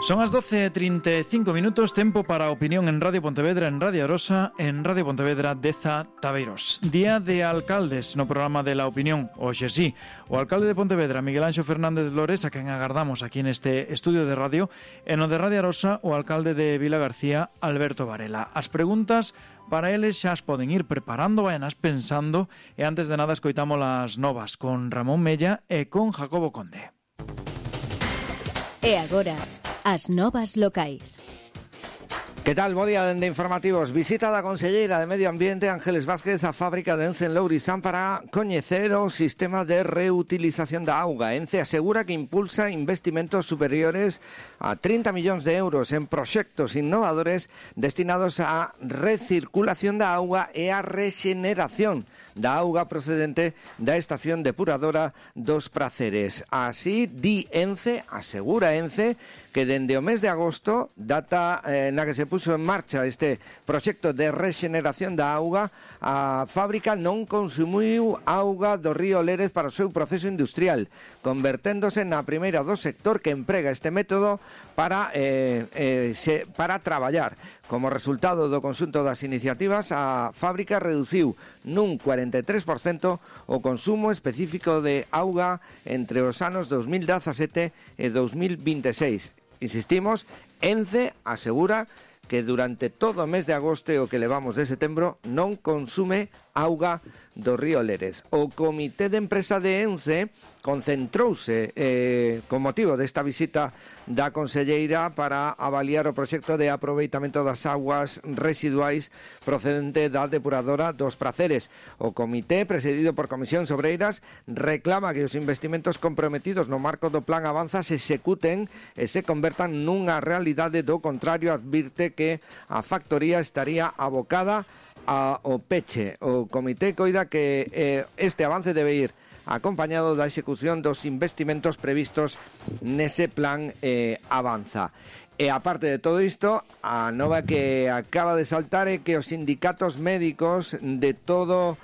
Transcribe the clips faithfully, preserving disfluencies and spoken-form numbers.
Son as doce e trinta e cinco minutos, tempo para a opinión en Radio Pontevedra, en Radio Arosa, en Radio Pontevedra Deza Tabeiros. Día de alcaldes no programa de La Opinión. Hoxe sí, o alcalde de Pontevedra, Miguel Anxo Fernández Lores, a quen agardamos aquí neste estudio de radio, e no de Radio Arosa, o alcalde de Vila García, Alberto Varela. As preguntas para eles xa as poden ir preparando, vayanas pensando, e antes de nada escoitamos as novas con Ramón Mella e con Jacobo Conde. E agora, as novas locais. Que tal? Bo día dende Informativos. Visita da conselleira de Medio Ambiente Ángeles Vázquez a fábrica de Ence en Lourizán para coñecer o sistema de reutilización da auga. Ence asegura que impulsa investimentos superiores a trinta millóns de euros en proxectos innovadores destinados á recirculación da auga e á rexeneración da auga procedente da estación depuradora dos Praceres. Así di Ence, asegura Ence, que dende o mes de agosto, data eh, na que se puso en marcha este proxecto de rexeneración da auga, a fábrica non consumiu auga do río Lérez para o seu proceso industrial, converténdose na primeira do sector que emprega este método para, eh, eh, se, para traballar. Como resultado do conxunto das iniciativas, a fábrica reduciu nun cuarenta e tres por cento o consumo específico de auga entre os anos dos mil dezasete e dos mil veintiséis. Insistimos, Ence asegura que durante todo o mes de agosto e o que levamos de setembro non consume auga do río Lérez. O Comité de Empresa de Ence concentrouse eh, con motivo desta visita da conselleira para avaliar o proxecto de aproveitamento das aguas residuais procedente da depuradora dos Praceres. O comité, presidido por Comisións Obreiras, reclama que os investimentos comprometidos no marco do Plan Avanza se executen e se convertan nunha realidade. Do contrario, advirte que a factoría estaría abocada ao peche. O comité coida que eh, este avance debe ir acompañado da execución dos investimentos previstos nese plan eh, Avanza. E aparte de todo isto, a nova que acaba de saltar é que os sindicatos médicos de todo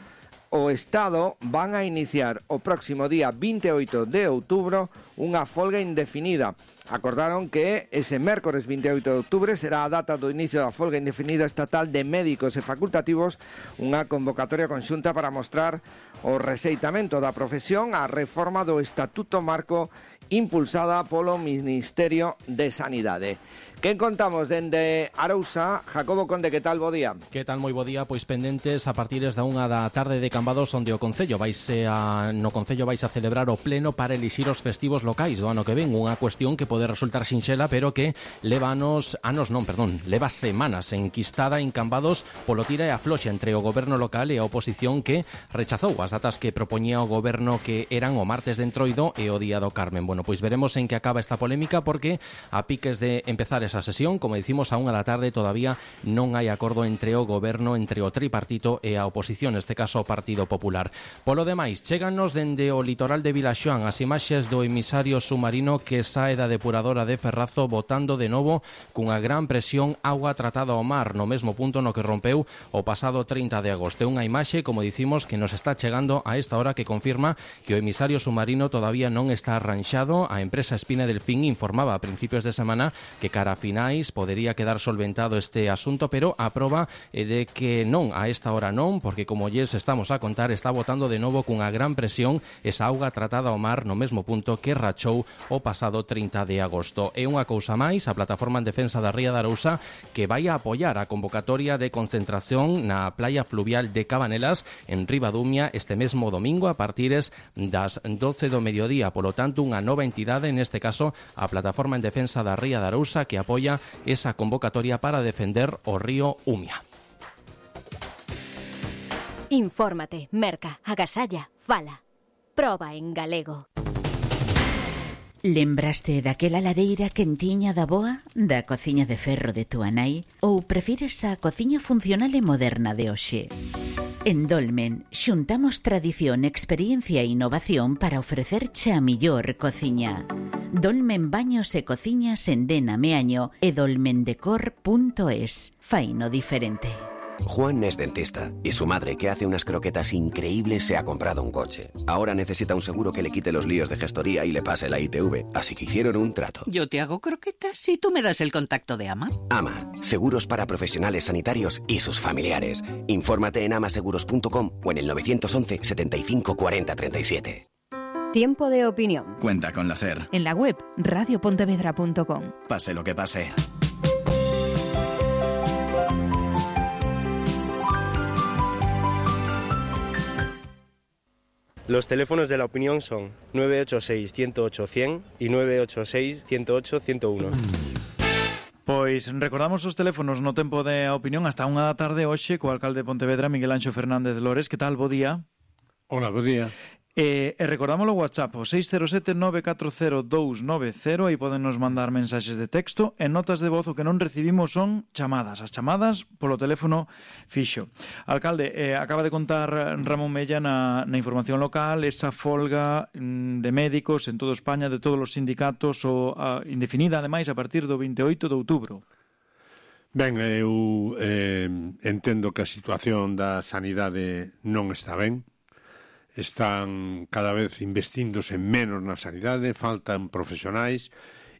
o Estado van a iniciar o próximo día vinte e oito de outubro unha folga indefinida. Acordaron que ese mércores vinte e oito de outubro será a data do inicio da folga indefinida estatal de médicos e facultativos, unha convocatoria conxunta para mostrar o rexeitamento da profesión á reforma do Estatuto Marco impulsada polo Ministerio de Sanidade. Que contamos dende Arousa? Jacobo Conde, que tal? Bo día. Que tal? Moi bo día. Pois pendentes a partir da unha da tarde de Cambados, onde o Concello vaise a, no Concello vais a celebrar o pleno para elixir os festivos locais do ano que ven. Unha cuestión que pode resultar sinxela, pero que leva anos, anos non, perdón, leva semanas enquistada en Cambados polo tira e afloxa entre o goberno local e a oposición, que rechazou as datas que propoñía o goberno, que eran o martes de Entroido e o día do Carmen. Bueno, pois veremos en que acaba esta polémica, porque a piques de empezar esa sesión, como dicimos, a unha da tarde todavía non hai acordo entre o goberno, entre o tripartito e a oposición, neste caso o Partido Popular. Polo demais, chéganos dende o litoral de Vilaxoán as imaxes do emisario submarino que sae da depuradora de Ferrazo botando de novo cunha gran presión agua tratada ao mar no mesmo punto no que rompeu o pasado trinta de agosto. Unha imaxe, como dicimos, que nos está chegando a esta hora, que confirma que o emisario submarino todavía non está arranxado. A empresa Espina Delfín informaba a principios de semana que cara finais podería quedar solventado este asunto, pero a proba é de que non, a esta hora non, porque como lles estamos a contar, está botando de novo cunha gran presión esa auga tratada ao mar no mesmo punto que rachou o pasado trinta de agosto. E unha cousa máis, a Plataforma en Defensa da Ría de Arousa, que vai a apoiar a convocatoria de concentración na playa fluvial de Cabanelas en Ribadumia este mesmo domingo a partires das doce do mediodía. Polo tanto, unha nova entidade, neste caso a Plataforma en Defensa da Ría de Arousa, que apoia esa convocatoria para defender o río Umia. Infórmate, merca, agasalla, fala. Proba en galego. Lembraste daquela lareira quentiña da boa, da cociña de ferro de túa nai, ou prefires a cociña funcional e moderna de hoxe? En Dolmen xuntamos tradición, experiencia e innovación para ofrecerche a millor cociña. Dolmen Baños e Cociñas en Dena Meaño e dolmendecor punto es. Faino diferente. Juan es dentista y su madre, que hace unas croquetas increíbles, se ha comprado un coche. Ahora necesita un seguro que le quite los líos de gestoría y le pase la I T V, así que hicieron un trato. Yo te hago croquetas y tú me das el contacto de Ama. Ama, seguros para profesionales sanitarios y sus familiares. Infórmate en amaseguros punto com o en el nueve once setenta y cinco cuarenta treinta y siete. Tiempo de opinión. Cuenta con la SER. En la web radio pontevedra punto com. Pase lo que pase. Los teléfonos de la opinión son nueve ocho seis, ciento ocho, cien y nueve ocho seis, ciento ocho, ciento uno. Pois recordamos os teléfonos no tempo de opinión hasta unha da tarde hoxe co alcalde de Pontevedra, Miguel Anxo Fernández Lores. Que tal? Bo día. Hola, bo día. E, e recordamos o WhatsApp, o seis cero sete nove catro cero dous nove cero, aí poden nos mandar mensaxes de texto e notas de voz. O que non recibimos son chamadas, as chamadas polo teléfono fixo. Alcalde, eh, acaba de contar Ramón Mella na, na información local esa folga mm, de médicos en toda España, de todos os sindicatos, o a, indefinida, ademais, a partir do veinte e oito de outubro. Ben, eu eh, entendo que a situación da sanidade non está ben. Están cada vez investíndose menos na sanidade, faltan profesionais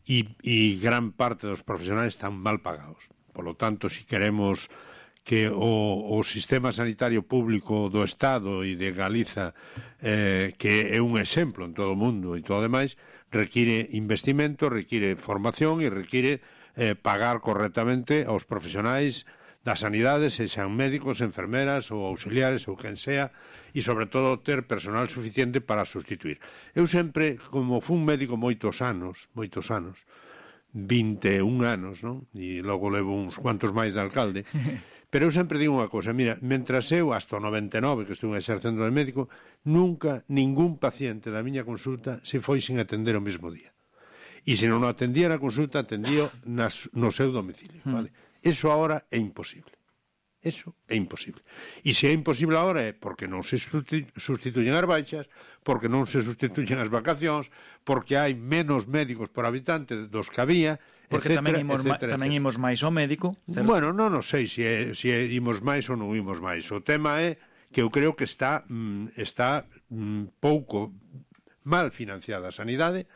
e, e gran parte dos profesionais están mal pagados. Por lo tanto, si queremos que o, o sistema sanitario público do Estado e de Galiza, eh, que é un exemplo en todo o mundo e todo o demais, require investimento, require formación e require eh, pagar correctamente aos profesionais da sanidade, sexan médicos, enfermeras ou auxiliares ou quen sea, e sobre todo ter personal suficiente para sustituir. Eu sempre, como fun médico moitos anos, moitos anos, vinte e un anos, non? E logo levo uns cuantos máis de alcalde, pero eu sempre digo unha cosa, mira, mentras eu, hasta o noventa e nove que estuve exercendo de médico, nunca ningún paciente da miña consulta se foi sin atender o mesmo día. E se non o atendía na consulta, atendía nas, no seu domicilio, vale? Eso ahora é imposible. Eso é imposible. E se é imposible agora é porque non se sustituyen as baixas, porque non se sustituyen as vacacións, porque hai menos médicos por habitante dos que había, porque etcétera, tamén imos, etcétera, tamén etcétera. imos máis ao médico. Certo? Bueno, non, non sei se, é, se é, imos máis ou non imos máis. O tema é que eu creo que está, mm, está mm, pouco mal financiada a sanidade,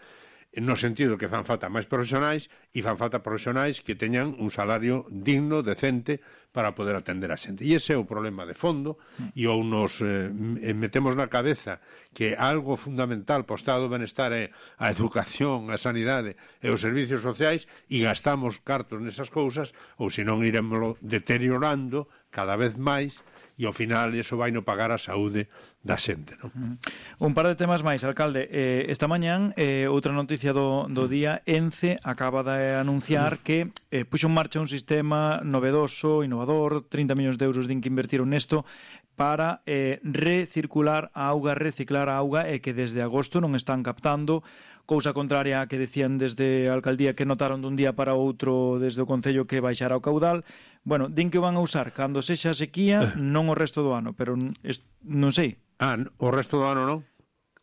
no sentido que fan falta máis profesionais e fan falta profesionais que teñan un salario digno, decente, para poder atender a xente. E ese é o problema de fondo, e ou nos eh, metemos na cabeza que algo fundamental para o estado do benestar é a educación, a sanidade e os servicios sociais, e gastamos cartos nesas cousas, ou senón iremoslo deteriorando cada vez máis, e ao final iso vai no pagar a saúde da xente, non? Un par de temas máis, alcalde. Eh, esta mañán, eh, outra noticia do, do día, ENCE acaba de anunciar que eh, puxo en marcha un sistema novedoso, innovador, trinta millóns de euros din que invertiron nesto, para eh, recircular a auga, reciclar a auga, e que desde agosto non están captando, cousa contraria a que decían desde a alcaldía que notaron dun día para outro desde o Concello que baixara o caudal. Bueno, din que o van a usar cando sexa sequía, non o resto do ano, pero non sei. Ah, o resto do ano non?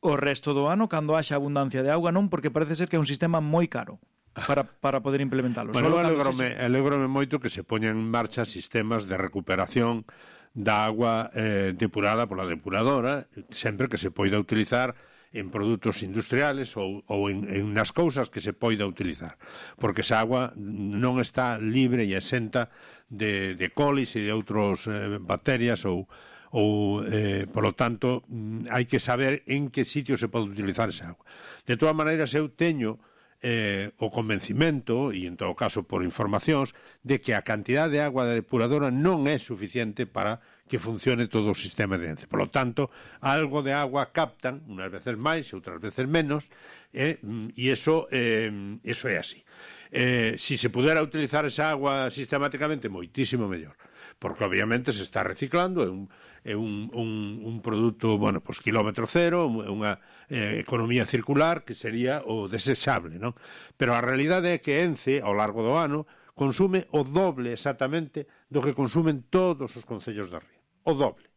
O resto do ano, cando haxa abundancia de auga, non, porque parece ser que é un sistema moi caro para, para poder implementalo. Bueno, Solo alegrome, se... alegrome moito que se poñan en marcha sistemas de recuperación da agua eh, depurada pola depuradora, sempre que se poida utilizar en produtos industriales ou, ou en, en nas cousas que se poida utilizar, porque esa agua non está libre e exenta de, de colis e de outros eh, bacterias ou, ou eh, polo tanto hai que saber en que sitio se pode utilizar esa agua. De todas maneiras, eu teño eh, o convencimento, e en todo caso por informacións, de que a cantidad de agua da depuradora non é suficiente para que funcione todo o sistema de ENCE. Por lo tanto, algo de agua captan, unas veces máis e outras veces menos, eh, e iso, eh, iso é así. Eh, si se pudera utilizar esa agua sistemáticamente, moitísimo mellor, porque obviamente se está reciclando, é un, é un, un, un produto, bueno, pues kilómetro cero, é unha eh, economía circular que sería o desechable, non? Pero a realidade é que ENCE, ao largo do ano, consume o doble exactamente do que consumen todos os concellos da ría. O doble.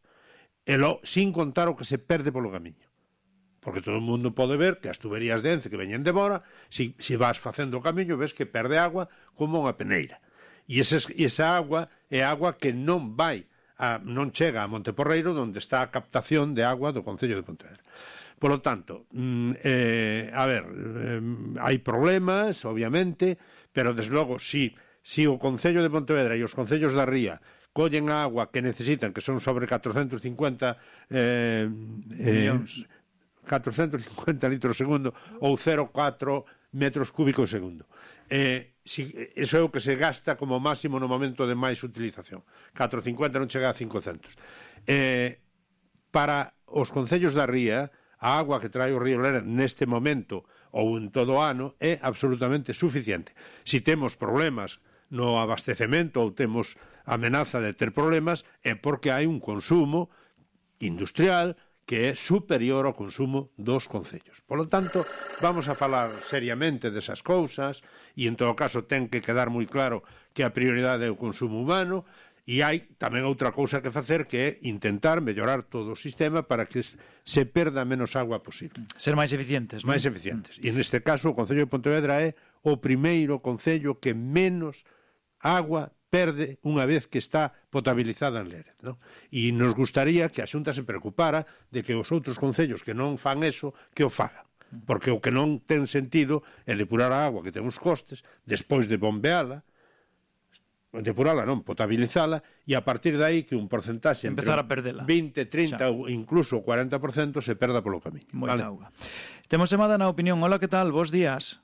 E lo, sin contar o que se perde polo camiño. Porque todo o mundo pode ver que as tuberías de ENCE que veñen de Bora, si, si vas facendo o camiño, ves que perde agua como unha peneira. E esa, esa agua é agua que non vai a, non chega a Monteporreiro, onde está a captación de agua do Concello de Pontevedra. Por lo tanto, eh, a ver, eh, hai problemas, obviamente, pero, desde logo, si, si o Concello de Pontevedra e os Concellos da Ría collen a agua que necesitan, que son sobre catrocentos cincuenta eh, eh, catrocentos cincuenta litros segundo ou cero vírgula catro metros cúbicos segundo. Eh, si, eso é o que se gasta como máximo no momento de máis utilización. catrocentos cincuenta non chega a cincocentos. Eh, para os concellos da ría, a agua que trae o río Lera neste momento ou en todo o ano é absolutamente suficiente. Si temos problemas no abastecemento ou temos amenaza de ter problemas, é porque hai un consumo industrial que é superior ao consumo dos concellos. Por lo tanto, vamos a falar seriamente desas cousas e, en todo caso, ten que quedar moi claro que a prioridade é o consumo humano e hai tamén outra cousa que facer que é intentar mellorar todo o sistema para que se perda menos agua posible. Ser máis eficientes, non? Máis eficientes. E, neste caso, o Concello de Pontevedra é o primeiro concello que menos agua perde unha vez que está potabilizada en Lérez, non? E nos gustaría que a Xunta se preocupara de que os outros concellos que non fan eso, que o fagan. Porque o que non ten sentido é depurar a agua que ten uns costes, despois de bombeala, depurala non, potabilizala, e a partir de aí que un porcentaxe empezar a perdela. vinte, trinta ou incluso cuarenta por cento se perda polo camiño. Moita vale? auga. Temos chamada na opinión. Hola, que tal? Bos días.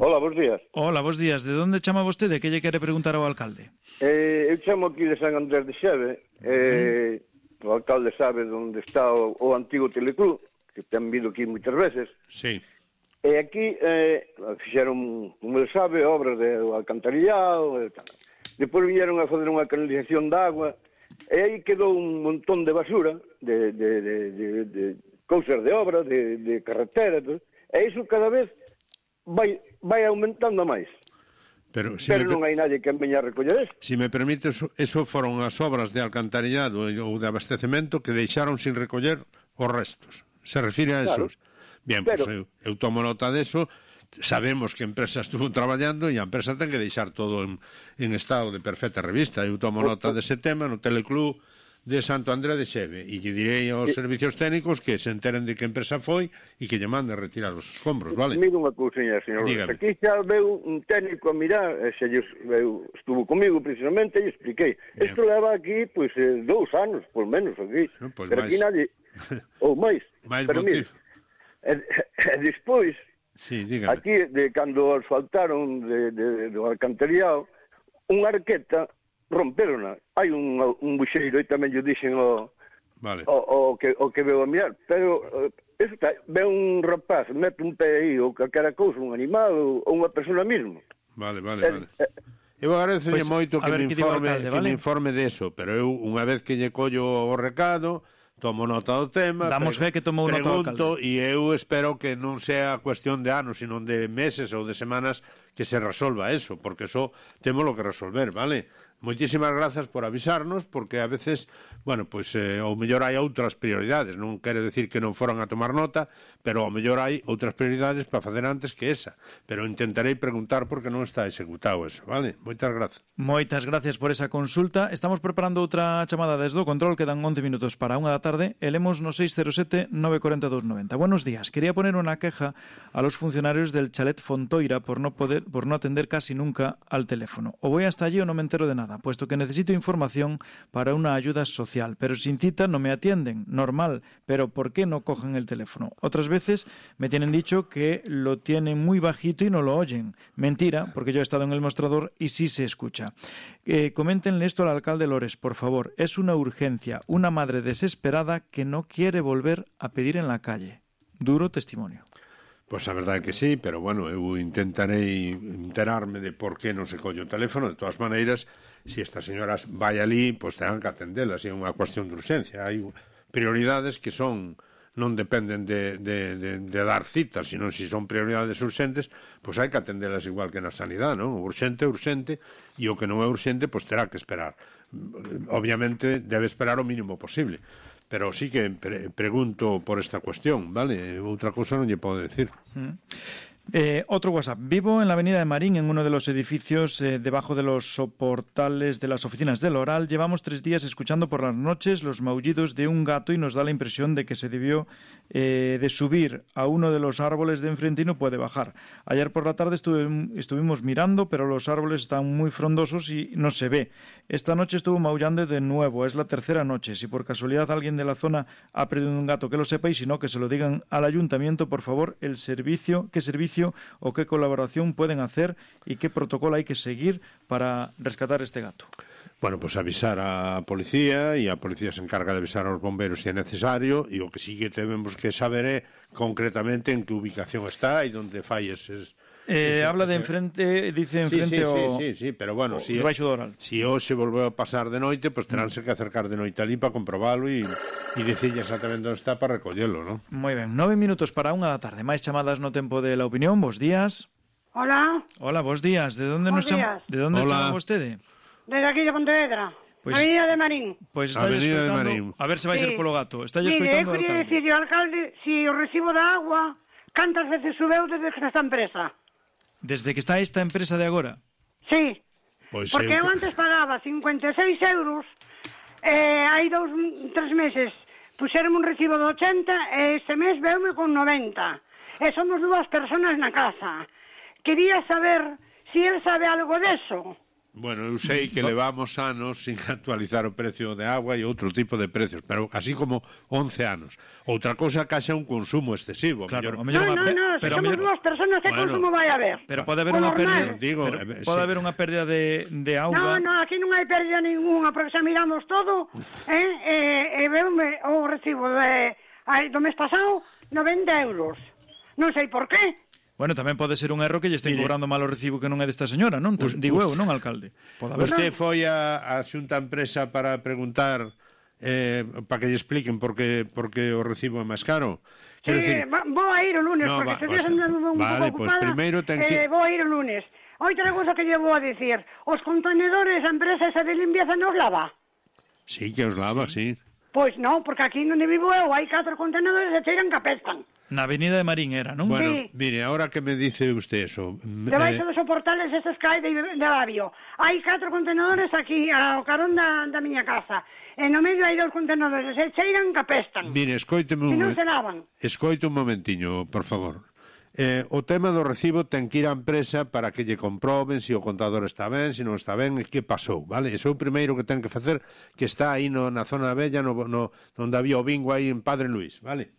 Hola, bons días. Hola, bos días. De onde chama vostede? Que lle quere preguntar ao alcalde? Eh, eu chamo aquí de San Andrés de Xeve. Eh, uh-huh. O alcalde sabe onde está o, o antigo Teleclub, que ten vindo aquí moitas veces. Sí. E aquí eh, fixeron, como ele sabe, obras de alcantarillado e tal. Depois vieron a fazer unha canalización de agua e aí quedou un montón de basura, de, de, de, de, de cousas de obra, de, de carretera, todo. E iso cada vez vai, vai aumentando máis. Pero, si Pero me, non hai nadie que veña a recoller eso. Si me permite, eso, eso foron as obras de alcantarillado ou de abastecemento que deixaron sin recoller os restos. Se refire a esos. Claro. Bien, pero... pues eu, eu tomo nota deso. Sabemos que a empresa estuvo traballando e a empresa ten que deixar todo en, en estado de perfecta revista. Eu tomo nota dese tema no Teleclub de Santo André de Xeve e lle direi aos servicios técnicos que se enteren de que empresa foi e que lle mande retirar os escombros, vale? Mira unha cousinha, señor. Dígame. Aquí xa veu un técnico a mirar, xa veu, estuvo comigo precisamente e expliquei. Isto leva aquí, pois, pues, dous anos, por menos, aquí. No, pues pero máis. Aquí nadie... Ou máis. máis pero motivo. Mira, e, e despois, sí, dígame. Aquí, de cando asfaltaron de, de, de, do alcantarillado, unha arqueta romperona. Hai un, un buxeiro, e tamén yo dixen o, vale. o, o, que, o que veo a mirar, pero eso está, ve un rapaz, mete un pé aí, ou calquera cousa, un animal, ou, ou unha persona mesmo. Vale, vale, vale. Eh, eh, eu agradezolle pues, moito que, me informe, alcalde, que vale? me informe deso, pero eu, unha vez que lle collo o recado, tomo nota do tema, damos fe que tomou nota do alcalde. E eu espero que non sea cuestión de anos, sino de meses ou de semanas que se resolva eso, porque eso temos lo que resolver, vale? Moitísimas grazas por avisarnos, porque a veces, bueno, pois, eh, ao mellor hai outras prioridades, non quere decir que non foran a tomar nota, pero ao mellor hai outras prioridades para facer antes que esa, pero intentarei preguntar porque non está executado eso, vale? Moitas grazas. Moitas gracias por esa consulta. Estamos preparando outra chamada desde o control, quedan once minutos para unha da tarde, e lemos no seis cero sete nove cuatro dos noventa. Buenos días, quería poner unha queja a los funcionarios del chalet Fontoira por no poder, por no atender casi nunca al teléfono. O voy hasta allí o no me entero de nada, puesto que necesito información para una ayuda social, pero sin cita no me atienden, normal, pero ¿por qué no cogen el teléfono? Otras veces me tienen dicho que lo tienen muy bajito y no lo oyen. Mentira, porque yo he estado en el mostrador y sí se escucha. Eh, coméntenle esto al alcalde Lores, por favor. Es una urgencia, una madre desesperada que no quiere volver a pedir en la calle. Duro testimonio. Pois a verdade que sí, pero bueno, eu intentarei enterarme de por que non se colle o teléfono. De todas maneiras, se esta señora vai ali, pois terán que atendela, se é unha cuestión de urxencia. Hai prioridades que son non dependen de, de, de, de dar citas, sino se son prioridades urxentes, pois hai que atendelas igual que na sanidade, non? O urxente é urxente e o que non é urxente, pois terá que esperar. Obviamente debe esperar o mínimo posible. Pero sí que pre pregunto por esta cuestión, vale? Outra cousa non lle podo decir. Mm. Eh, otro WhatsApp. Vivo en la avenida de Marín, en uno de los edificios eh, debajo de los soportales de las oficinas del Oral. Llevamos tres días escuchando por las noches los maullidos de un gato y nos da la impresión de que se debió eh, de subir a uno de los árboles de enfrente y no puede bajar. Ayer por la tarde estuve, estuvimos mirando, pero los árboles están muy frondosos y no se ve. Esta noche estuvo maullando de nuevo. Es la tercera noche. Si por casualidad alguien de la zona ha perdido un gato, que lo sepa, y si no, que se lo digan al ayuntamiento, por favor, el servicio, qué servicio o qué colaboración pueden hacer y qué protocolo hay que seguir para rescatar este gato. Bueno, pues avisar a policía e a policía se encarga de avisar aos bombeiros se é necesario e o que sí que temos que saber é concretamente en que ubicación está e onde fai eses... Eh, ese, habla de ese... enfrente, dice enfrente sí, sí, o... Sí, sí, sí, pero bueno, o si, si hoxe volveu a pasar de noite, pues teránse que acercar de noite ali para comprobalo e, e dicirlle exactamente onde está para recollelo, ¿no? Moi ben, nove minutos para unha da tarde. Máis chamadas no tempo de la opinión. Bos días. Hola. Hola, bos días. De onde nos chama, de onde chama vostede? Desde aquí de Pontevedra. Pues, Avenida de Marín. Pois pues está escoitando, a ver se vai sí. ser polo gato. Está escoitando o alcalde. Mire, eu queria dicir ao alcalde si o recibo da agua cantas veces subeu desde que está esta empresa. Desde que está esta empresa de agora? Sí. Pois porque eu antes pagaba cincuenta e seis euros, eh, hai dous, tres meses puxeron un recibo de ochenta e este mes veume con noventa. E somos dúas personas na casa. Quería saber si él sabe algo deso. Bueno, eu sei que levamos anos sin actualizar o precio de agua e outro tipo de precios, pero así como once anos. Outra cosa que haxa un consumo excesivo. Claro, mellor... No, no, no, se somos dúas personas, que bueno, consumo vai haber? Pero pode haber unha pérdida, digo, pero, eh, pode sí. haber unha pérdida de, de auga. No, no, aquí non hai pérdida ninguna, porque xa miramos todo, eh, e, e veume o recibo de, do mes pasado, noventa euros. Non sei por qué. Bueno, tamén pode ser un erro que lle estén cobrando mal o recibo que non é desta señora, non? Us, Digo us, eu, non, alcalde? Usted foi a, a xunta empresa para preguntar, eh, para que lle expliquen por que, por que o recibo é máis caro? Sí, decir... vou a ir o lunes, no, porque se días andando un vale, pouco pues ocupada, ten que... eh, vou a ir o lunes. Outra cosa que lle vou a dicir, os contenedores, a empresa esa de limpieza nos lava? Sí, que os lava, sí. sí. Pois non, porque aquí onde vivo eu hai catro contenedores e cheiran que apestan. Na avenida de Marín era, non? Bueno, sí. Mire, ahora que me dice usted eso... Debaixo eh... dos soportales estes que hai de, de Avio. Hai catro contenedores aquí, ao carón da, da miña casa. E no medio hai dous contenedores, e cheiran que apestan. Mire, escoíteme un... E non se lavan. Escoite un momentiño, por favor. Eh, o tema do recibo ten que ir á empresa para que lle comproben se o contador está ben, se non está ben, e que pasou, vale? Iso é o primeiro que ten que facer, que está aí no, na zona bella, no, no, onde había o bingo aí en Padre Luís, vale?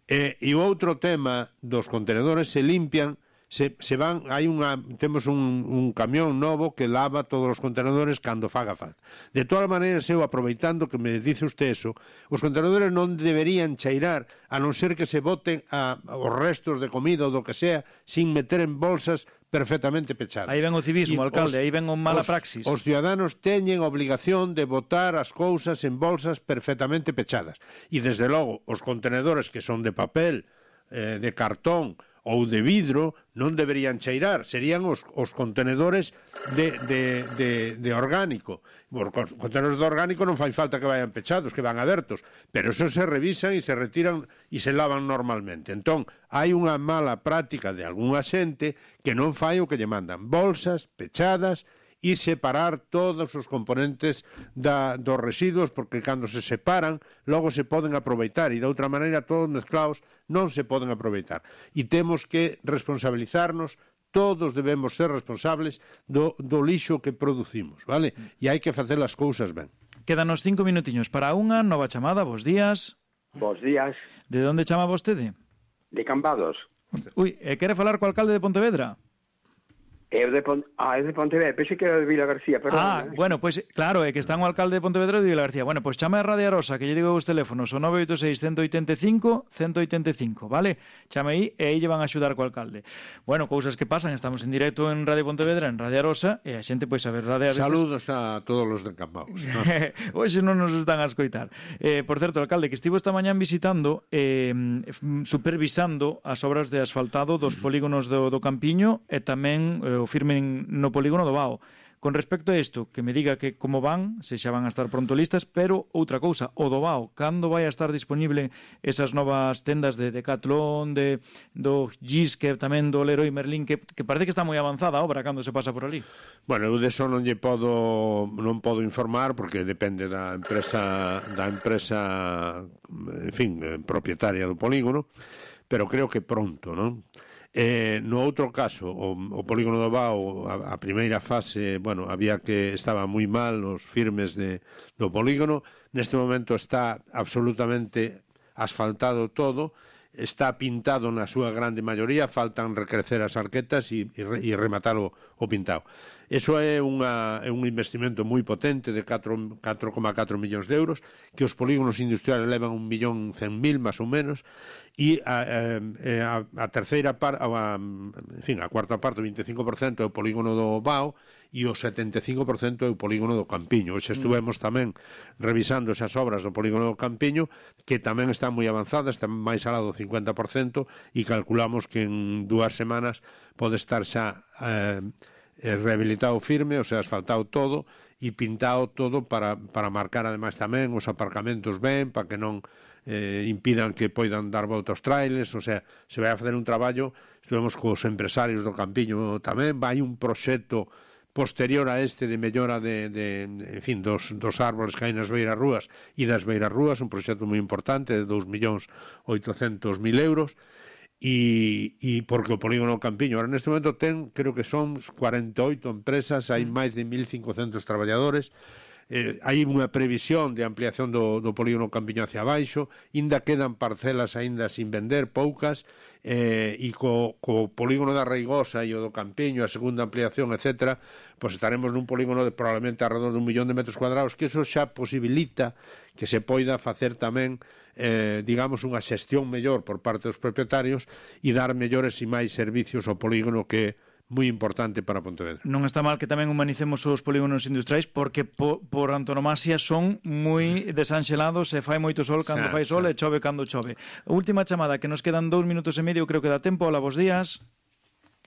Eh, e o outro tema dos contenedores se limpian, se, se van, hai unha, temos un, un camión novo que lava todos os contenedores cando faga falta. De todas maneiras, eu aproveitando que me dice usted eso, os contenedores non deberían cheirar a non ser que se boten a, a os restos de comida ou do que sea sin meter en bolsas perfectamente pechadas. Aí ven o civismo, e alcalde, os, aí ven o mala os, praxis. Os ciudadanos teñen obligación de botar as cousas en bolsas perfectamente pechadas. E, desde logo, os contenedores que son de papel, eh, de cartón ou de vidro non deberían cheirar, serían os, os contenedores de, de, de, de orgánico. Os contenedores de orgánico non fai falta que vayan pechados, que van abertos, pero eso se revisan e se retiran e se lavan normalmente. Entón, hai unha mala práctica de algunha xente que non fai o que lle mandan. Bolsas pechadas e separar todos os componentes da, dos residuos, porque cando se separan, logo se poden aproveitar, e de outra maneira todos mezclados non se poden aproveitar. E temos que responsabilizarnos, todos debemos ser responsables do, do lixo que producimos, vale? E hai que facer as cousas ben. Quédanos cinco minutiños para unha nova chamada. Bos días. Bos días. De onde chama vostede? De Cambados. Ui, e quere falar co alcalde de Pontevedra? É de Pont... Ah, é de Pontevedra, pensei que era de Vila García, perdón. Ah, eh? bueno, pois, pues, claro, é que está o alcalde de Pontevedra de Vila García. Bueno, pois pues, chame a Radio Arosa, que lle digo os teléfonos, o nove oito seis, uno oito cinco, uno oito cinco, vale? Chame aí e aí lle van a axudar co alcalde. Bueno, cousas que pasan, estamos en directo en Radio Pontevedra, en Radio Arosa, e a xente, pois, a verdade... A veces... Saludos a todos os de Cambados. ¿No? Hoxe non nos están a escoitar. Eh, por certo, alcalde, que estivo esta mañán visitando, eh, supervisando as obras de asfaltado dos polígonos do, do Campiño e tamén eh, o firmen no polígono do Bao. Con respecto a isto, que me diga que como van, se xa van a estar pronto listas, pero outra cousa, o do B A O, cando vai a estar disponible esas novas tendas de Decathlon, de do Giske, tamén do Leroy Merlin, que, que parece que está moi avanzada a obra cando se pasa por ali? Bueno, eu deso non lle podo non podo informar porque depende da empresa da empresa, en fin, propietaria do polígono, pero creo que pronto, non? Eh, no outro caso, o, o polígono do B A O, a, a primeira fase, bueno, había que estaba moi mal os firmes de, do polígono, neste momento está absolutamente asfaltado todo, está pintado na súa grande maioría, faltan recrecer as arquetas e, e, e rematar o, o pintado. Eso é, unha, é un investimento moi potente de catro coma catro millóns de euros, que os polígonos industriales levan un millón cen mil, máis ou menos, e a, a, a terceira parte, a, en fin, a cuarta parte, o vinte e cinco por cento é o polígono do B A O e o setenta e cinco por cento é o polígono do Campiño. Hoxe estuvemos tamén revisando esas obras do polígono do Campiño, que tamén están moi avanzadas, están máis alá do cincuenta por cento, e calculamos que en dúas semanas pode estar xa eh, rehabilitado firme, o sea, asfaltado todo e pintado todo para, para marcar ademais tamén os aparcamentos ben, para que non eh, impidan que poidan dar volta aos trailers, o sea, se vai a facer un traballo, estivemos cos empresarios do Campiño tamén, vai un proxecto posterior a este de mellora de, de, en fin, dos, dos árboles que hai nas beiras rúas e das beiras rúas, un proxecto moi importante de dous millóns oitocentos mil euros, e, e porque o polígono Campiño ahora neste momento ten, creo que son cuarenta e oito empresas, hai máis de mil cincocentos traballadores, eh, hai unha previsión de ampliación do, do polígono Campiño hacia abaixo, ainda quedan parcelas aínda sin vender, poucas, eh, e co, co polígono da Reigosa e o do Campiño, a segunda ampliación, etcétera, pois estaremos nun polígono de probablemente alrededor dun millón de metros cuadrados, que eso xa posibilita que se poida facer tamén, eh, digamos, unha xestión mellor por parte dos propietarios e dar mellores e máis servicios ao polígono, que moi importante para Pontevedra. Non está mal que tamén humanicemos os polígonos industriais, porque po, por antonomasia son moi desanxelados, e fai moito sol cando xa, fai sol xa. E chove cando chove. Última chamada, que nos quedan dous minutos e medio, creo que dá tempo. Hola, bons días.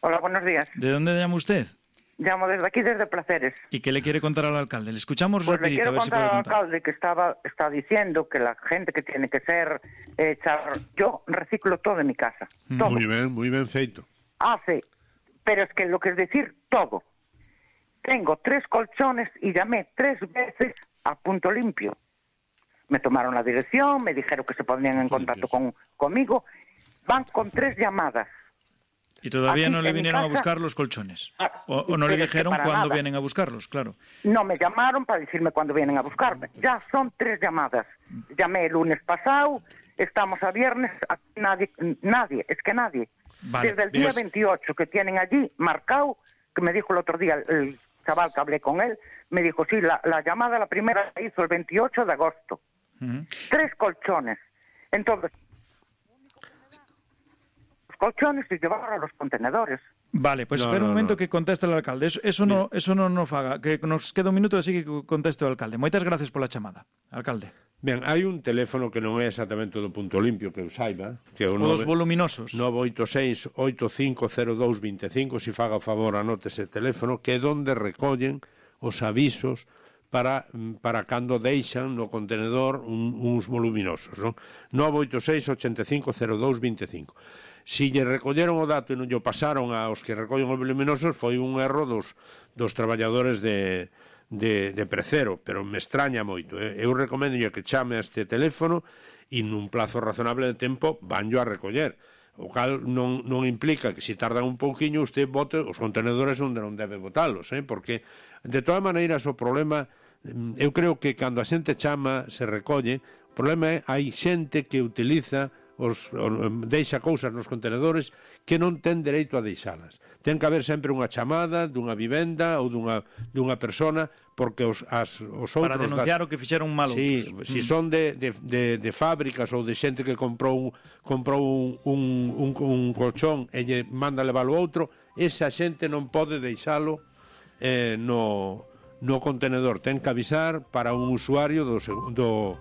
Hola, buenos días. ¿De dónde llama usted? Llamo desde aquí, desde Placeres. ¿Y qué le quiere contar al alcalde? Le escuchamos pues rapidito, le quiero a ver si contar puede al contar. alcalde que estaba está diciendo que la gente que tiene que ser eh, char... Yo reciclo todo en mi casa. Todo. Muy bien, muy bien feito. Hace... Pero es que lo que es decir, todo. Tengo tres colchones y llamé tres veces a Punto Limpio. Me tomaron la dirección, me dijeron que se ponían en contacto con, conmigo. Van con tres llamadas. ¿Y todavía Aquí, no le en mi vinieron a casa- buscar los colchones? Ah, ¿O, o no pero le es que dijeron para cuándo nada. vienen a buscarlos? Claro. No me llamaron para decirme cuándo vienen a buscarme. Ya son tres llamadas. Llamé el lunes pasado, estamos a viernes, a- nadie, nadie, es que nadie. Vale, Desde el día Dios. veintiocho que tienen allí marcado, que me dijo el otro día el, el chaval que hablé con él, me dijo, sí, la, la llamada, la primera la hizo el veintiocho de agosto. Ujú. Tres colchones. Entonces, los colchones y llevar a los contenedores. Vale, pues No, espera un no, momento no. que conteste el alcalde. Eso, eso no eso no nos faga. Que nos queda un minuto, así que conteste o alcalde. Moitas gracias pola chamada, alcalde. Ben, hai un teléfono que non é exactamente do Punto Limpio, que eu saiba, que é o O dos voluminosos. nove oito seis, oito cinco cero dous, dos cinco, se faga o favor anote ese teléfono, que é onde recollen os avisos para, para cando deixan no contenedor un, uns voluminosos, non? nove oito seis, oito cinco cero dous, dos cinco. Si lle recolleron o dato e non lle pasaron aos que recollen os voluminosos, foi un erro dos, dos traballadores de, de, de Precero, pero me extraña moito. Eh? Eu recomendo que chame a este teléfono e nun plazo razonable de tempo vanllo a recoller. O cal non, non implica que se tardan un pouquiño usted bote os contenedores onde non debe botalos, eh? Porque de todas maneiras o problema, eu creo que cando a xente chama se recolle, o problema é hai xente que utiliza os, os deixa cousas nos contenedores que non ten dereito a deixalas. Ten que haber sempre unha chamada dunha vivenda ou dunha, dunha persona, porque os, as, os outros... Para denunciar das... o que fixeron mal Sí, outros. si Mm. son de, de, de, de fábricas ou de xente que comprou, comprou un, un, un, un colchón e lle manda levar o outro, esa xente non pode deixalo eh, no, no contenedor. Ten que avisar para un usuario do, do,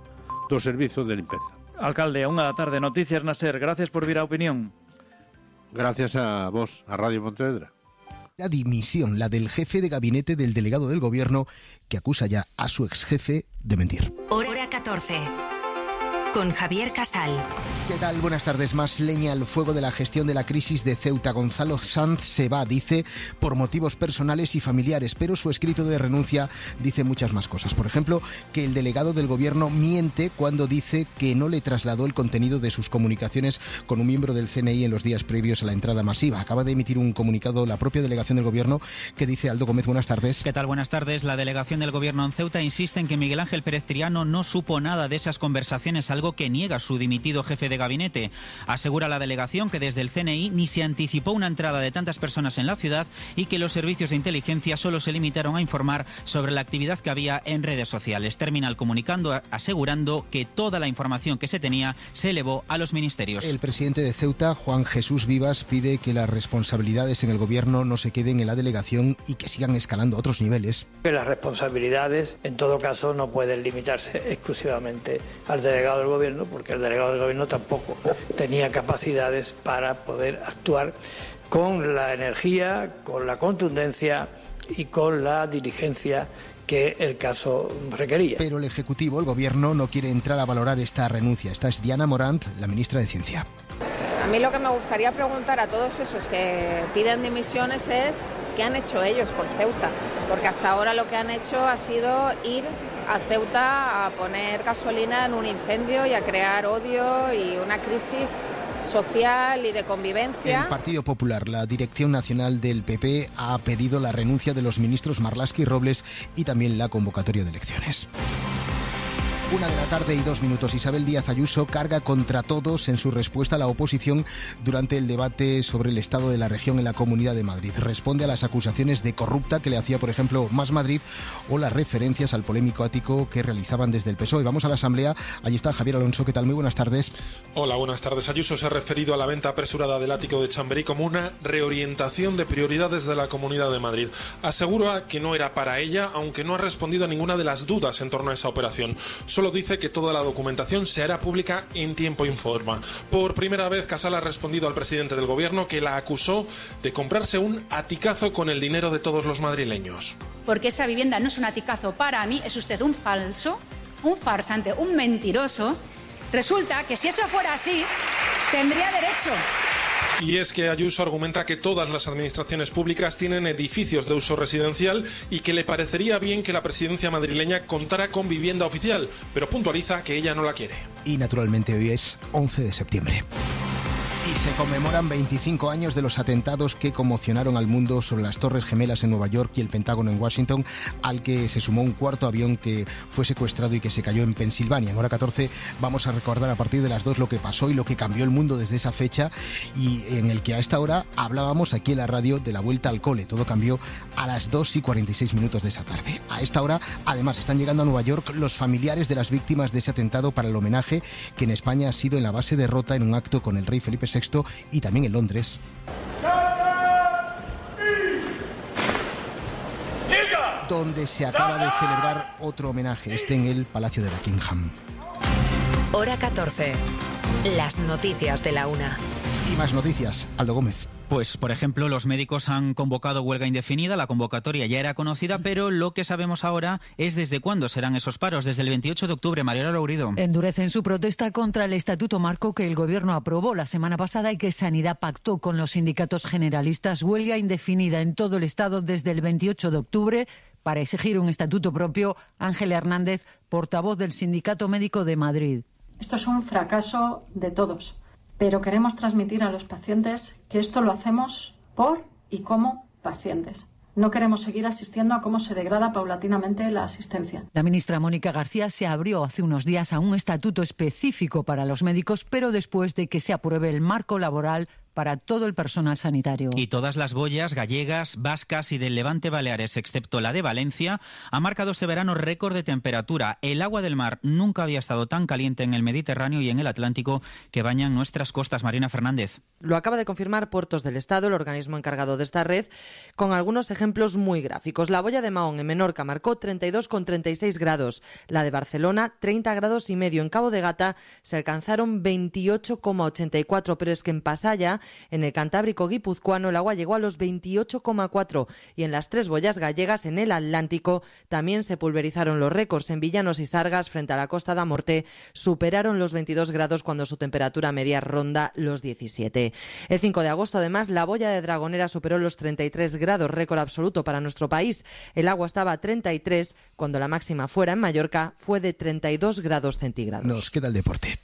do servizo de limpeza. Alcalde, a unha da tarde, Noticias na SER. Gracias por vir á opinión. Gracias a vos, a Radio Pontevedra. La dimisión, la del jefe de gabinete del delegado del gobierno, que acusa ya a su exjefe de mentir. Hora catorce. Con Javier Casal. ¿Qué tal? Buenas tardes. Más leña al fuego de la gestión de la crisis de Ceuta. Gonzalo Sanz se va, dice, por motivos personales y familiares, pero su escrito de renuncia dice muchas más cosas. Por ejemplo, que el delegado del gobierno miente cuando dice que no le trasladó el contenido de sus comunicaciones con un miembro del C N I en los días previos a la entrada masiva. Acaba de emitir un comunicado la propia delegación del gobierno que dice Aldo Gómez. Buenas tardes. ¿Qué tal? Buenas tardes. La delegación del gobierno en Ceuta insiste en que Miguel Ángel Pérez Triano no supo nada de esas conversaciones, algo que niega su dimitido jefe de gabinete. Asegura la delegación que desde el C N I ni se anticipó una entrada de tantas personas en la ciudad y que los servicios de inteligencia solo se limitaron a informar sobre la actividad que había en redes sociales. Termina el comunicando asegurando que toda la información que se tenía se elevó a los ministerios. El presidente de Ceuta, Juan Jesús Vivas, pide que las responsabilidades en el gobierno no se queden en la delegación y que sigan escalando a otros niveles. Que las responsabilidades, en todo caso, no pueden limitarse exclusivamente al delegado del gobierno, porque el delegado del gobierno tampoco tenía capacidades para poder actuar con la energía, con la contundencia y con la diligencia que el caso requería. Pero el Ejecutivo, el Gobierno, no quiere entrar a valorar esta renuncia. Esta es Diana Morant, la ministra de Ciencia. A mí lo que me gustaría preguntar a todos esos que piden dimisiones es ¿qué han hecho ellos por Ceuta? Porque hasta ahora lo que han hecho ha sido ir a Ceuta a poner gasolina en un incendio y a crear odio y una crisis social y de convivencia. El Partido Popular, la Dirección Nacional del P P, ha pedido la renuncia de los ministros Marlaska y Robles y también la convocatoria de elecciones. Una de la tarde y dos minutos. Isabel Díaz Ayuso carga contra todos en su respuesta a la oposición durante el debate sobre el estado de la región en la Comunidad de Madrid. Responde a las acusaciones de corrupta que le hacía, por ejemplo, Más Madrid o las referencias al polémico ático que realizaban desde el P S O E. Vamos a la Asamblea. Allí está Javier Alonso. ¿Qué tal? Muy buenas tardes. Hola, buenas tardes. Ayuso se ha referido a la venta apresurada del ático de Chamberí como una reorientación de prioridades de la Comunidad de Madrid. Asegura que no era para ella, aunque no ha respondido a ninguna de las dudas en torno a esa operación. Solo dice que toda la documentación se hará pública en tiempo y forma. Por primera vez, Casal ha respondido al presidente del gobierno que la acusó de comprarse un aticazo con el dinero de todos los madrileños. Porque esa vivienda no es un aticazo para mí, es usted un falso, un farsante, un mentiroso. Resulta que si eso fuera así, tendría derecho. Y es que Ayuso argumenta que todas las administraciones públicas tienen edificios de uso residencial y que le parecería bien que la presidencia madrileña contara con vivienda oficial, pero puntualiza que ella no la quiere. Y naturalmente hoy es once de septiembre. Y se conmemoran veinticinco años de los atentados que conmocionaron al mundo sobre las Torres Gemelas en Nueva York y el Pentágono en Washington, al que se sumó un cuarto avión que fue secuestrado y que se cayó en Pensilvania. En hora catorce vamos a recordar a partir de las dos lo que pasó y lo que cambió el mundo desde esa fecha, y en el que a esta hora hablábamos aquí en la radio de la vuelta al cole. Todo cambió a las dos y cuarenta y seis minutos de esa tarde. A esta hora, además, están llegando a Nueva York los familiares de las víctimas de ese atentado para el homenaje que en España ha sido en la base de Rota en un acto con el rey Felipe sexto y también en Londres. Donde se acaba de celebrar otro homenaje, este en el Palacio de Buckingham. Hora catorce. Las noticias de la una. Y más noticias, Aldo Gómez. Pues, por ejemplo, los médicos han convocado huelga indefinida, la convocatoria ya era conocida, pero lo que sabemos ahora es desde cuándo serán esos paros, desde el veintiocho de octubre. Mariela Lourido. Endurecen su protesta contra el Estatuto Marco que el Gobierno aprobó la semana pasada y que Sanidad pactó con los sindicatos generalistas. Huelga indefinida en todo el Estado desde el veintiocho de octubre para exigir un estatuto propio. Ángela Hernández, portavoz del Sindicato Médico de Madrid. Esto es un fracaso de todos. Pero queremos transmitir a los pacientes que esto lo hacemos por y como pacientes. No queremos seguir asistiendo a cómo se degrada paulatinamente la asistencia. La ministra Mónica García se abrió hace unos días a un estatuto específico para los médicos, pero después de que se apruebe el marco laboral para todo el personal sanitario. Y todas las boyas gallegas, vascas y del Levante Baleares, excepto la de Valencia, ha marcado este verano récord de temperatura. El agua del mar nunca había estado tan caliente en el Mediterráneo y en el Atlántico que bañan nuestras costas. Marina Fernández. Lo acaba de confirmar Puertos del Estado, el organismo encargado de esta red, con algunos ejemplos muy gráficos. La boya de Mahón en Menorca marcó treinta y dos coma treinta y seis grados. La de Barcelona, treinta grados y medio. En Cabo de Gata se alcanzaron veintiocho coma ochenta y cuatro, pero es que en Pasaya En el Cantábrico guipuzcoano el agua llegó a los veintiocho coma cuatro y en las tres boyas gallegas, en el Atlántico, también se pulverizaron los récords. En Villanos y Sargas, frente a la Costa da Morte, superaron los veintidós grados cuando su temperatura media ronda los diecisiete. El cinco de agosto, además, la boya de Dragonera superó los treinta y tres grados, récord absoluto para nuestro país. El agua estaba a treinta y tres, cuando la máxima fuera en Mallorca fue de treinta y dos grados centígrados. Nos queda el deporte.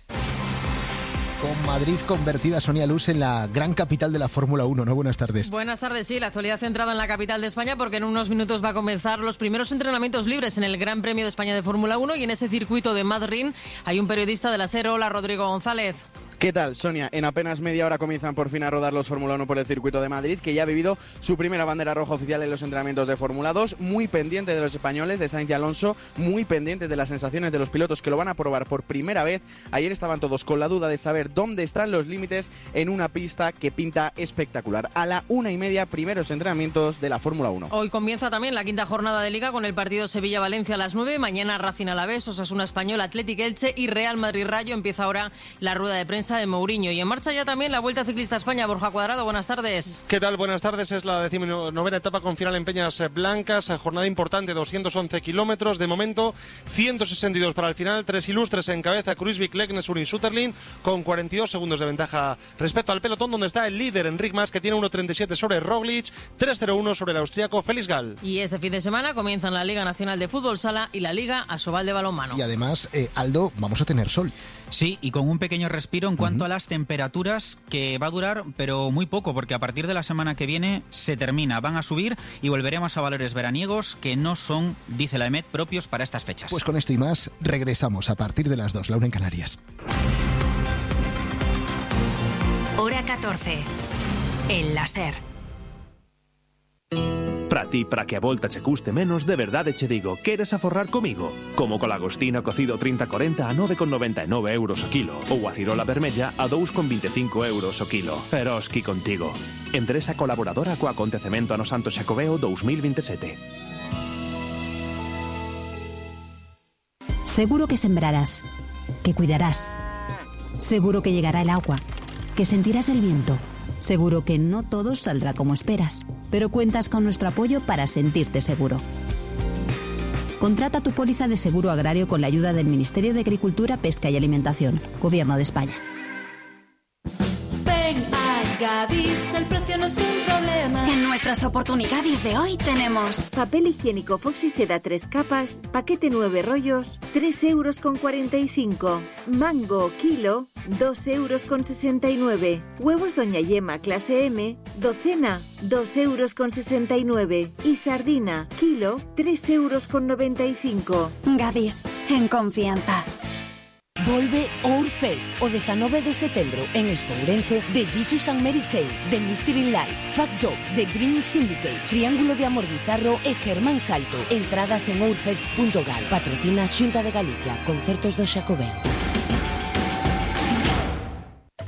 Con Madrid convertida, Sonia Luz, en la gran capital de la Fórmula uno, ¿no? Buenas tardes. Buenas tardes, sí, la actualidad centrada en la capital de España, porque en unos minutos va a comenzar los primeros entrenamientos libres en el Gran Premio de España de Fórmula uno, y en ese circuito de Madrid hay un periodista de la SER. Hola, Rodrigo González. ¿Qué tal, Sonia? En apenas media hora comienzan por fin a rodar los Fórmula uno por el circuito de Madrid, que ya ha vivido su primera bandera roja oficial en los entrenamientos de Fórmula dos, muy pendiente de los españoles, de Sainz y Alonso, muy pendiente de las sensaciones de los pilotos que lo van a probar por primera vez. Ayer estaban todos con la duda de saber dónde están los límites en una pista que pinta espectacular. A la una y media, primeros entrenamientos de la Fórmula uno. Hoy comienza también la quinta jornada de Liga con el partido Sevilla-Valencia a las nueve, mañana Racing Alavés, Osasuna Español, Athletic Elche y Real Madrid-Rayo. Empieza ahora la rueda de prensa de Mourinho. Y en marcha ya también la Vuelta Ciclista a España. Borja Cuadrado, buenas tardes. ¿Qué tal? Buenas tardes. Es la decimonovena etapa con final en Peñas Blancas. Jornada importante, doscientos once kilómetros. De momento, ciento sesenta y dos para el final. Tres ilustres en cabeza: Kruijswijk, Leknes, Urin, Sutterlin, con cuarenta y dos segundos de ventaja respecto al pelotón, donde está el líder Enric Mas, que tiene uno treinta y siete sobre Roglic, tres cero uno sobre el austriaco Felix Gall. Y este fin de semana comienzan la Liga Nacional de Fútbol Sala y la Liga Asobal de Balonmano. Y además, eh, Aldo, vamos a tener sol. Sí, y con un pequeño respiro en cuanto uh-huh. a las temperaturas, que va a durar, pero muy poco, porque a partir de la semana que viene se termina, van a subir y volveremos a valores veraniegos que no son, dice la EMET, propios para estas fechas. Pues con esto y más, regresamos a partir de las dos, la una en Canarias. Hora catorce, el láser. Para ti, para que a volta che custe menos, de verdade che digo, queres aforrar comigo? Como co lagostino cocido trinta corenta a nove con noventa e nove euros o kilo, ou a cirola vermella a dous con vinte e cinco euros o kilo. Peroski contigo. Empresa colaboradora co acontecemento ano Santo Xacobeo dous mil vinte e sete. Seguro que sembrarás, que cuidarás. Seguro que llegará el agua, que sentirás el viento. Seguro que no todo saldrá como esperas, pero cuentas con nuestro apoyo para sentirte seguro. Contrata tu póliza de seguro agrario con la ayuda del Ministerio de Agricultura, Pesca y Alimentación, Gobierno de España. Ven a Gadis, el precio no es un problema. En nuestras oportunidades de hoy tenemos papel higiénico Foxy Seda tres capas, paquete nueve rollos, tres euros con cuarenta y cinco. Mango kilo, dos euros con sesenta y nueve. Huevos Doña Yema clase M, docena, dos euros con sesenta y nueve. Y sardina kilo, tres euros con noventa y cinco. Gadis, en confianza. Volve Ourfest o dezanove de setembro en Expo Ourense de Jesus and Mary Chain, de Mystery Life, Fat Dog, de Dream Syndicate, Triángulo de Amor Bizarro e Germán Salto. Entradas en ourfest punto gal. Patrocina Xunta de Galicia, Concertos do Xacobeo.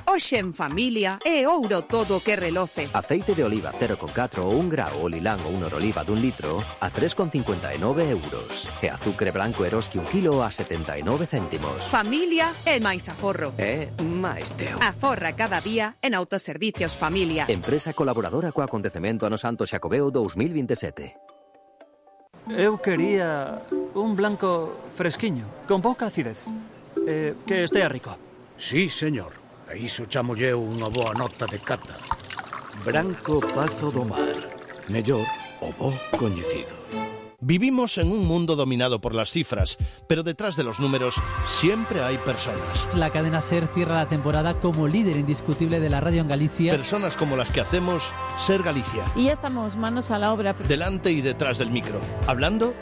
Hoxe en familia é ouro todo que reloce. Aceite de oliva cero coma catro ou un grao ou lilán ou un oroliva dun litro a tres con cincuenta e nove euros. E azucre branco Eroski un kilo a setenta e nove céntimos. Familia é máis aforro. É máis teu. Aforra cada día en Autoservicios Familia. Empresa colaboradora co acontecemento ano Santo Xacobeo dous mil vinte e sete. Eu quería un blanco fresquiño, con pouca acidez. Eh, que estea rico. Sí, señor. A iso chamolle unha boa nota de cata. Branco Pazo do Mar. Mellor o bo coñecido. Vivimos en un mundo dominado por las cifras, pero detrás de los números siempre hay personas. La cadena SER cierra la temporada como líder indiscutible de la radio en Galicia. Personas como las que hacemos SER Galicia. Y ya estamos manos a la obra. Delante y detrás del micro, hablando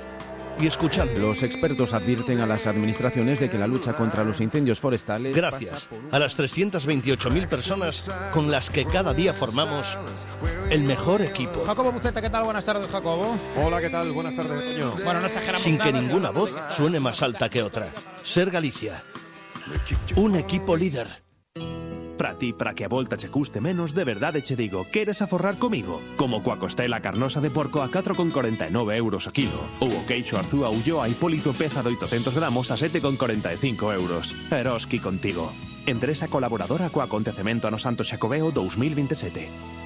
y escuchando. Los expertos advierten a las administraciones de que la lucha contra los incendios forestales... Gracias a las trescientas veintiocho mil personas con las que cada día formamos el mejor equipo. Jacobo Buceta, ¿qué tal? Buenas tardes, Jacobo. Hola, ¿qué tal? Buenas tardes, Toño. Bueno, no exageramos Sin nada, que ninguna voz suene más alta que otra. SER Galicia. Un equipo líder. Para ti, para que a volta che custe menos, de verdade che digo, queres aforrar comigo? Como coa costela carnosa de porco a catro con corenta e nove euros o kilo, ou o queixo Arzúa Ulloa Hipólito peza de oitocentos gramos a sete con corenta e cinco euros. Eroski contigo. Empresa colaboradora co acontecemento ano Santo Xacobeo dous mil vinte e sete.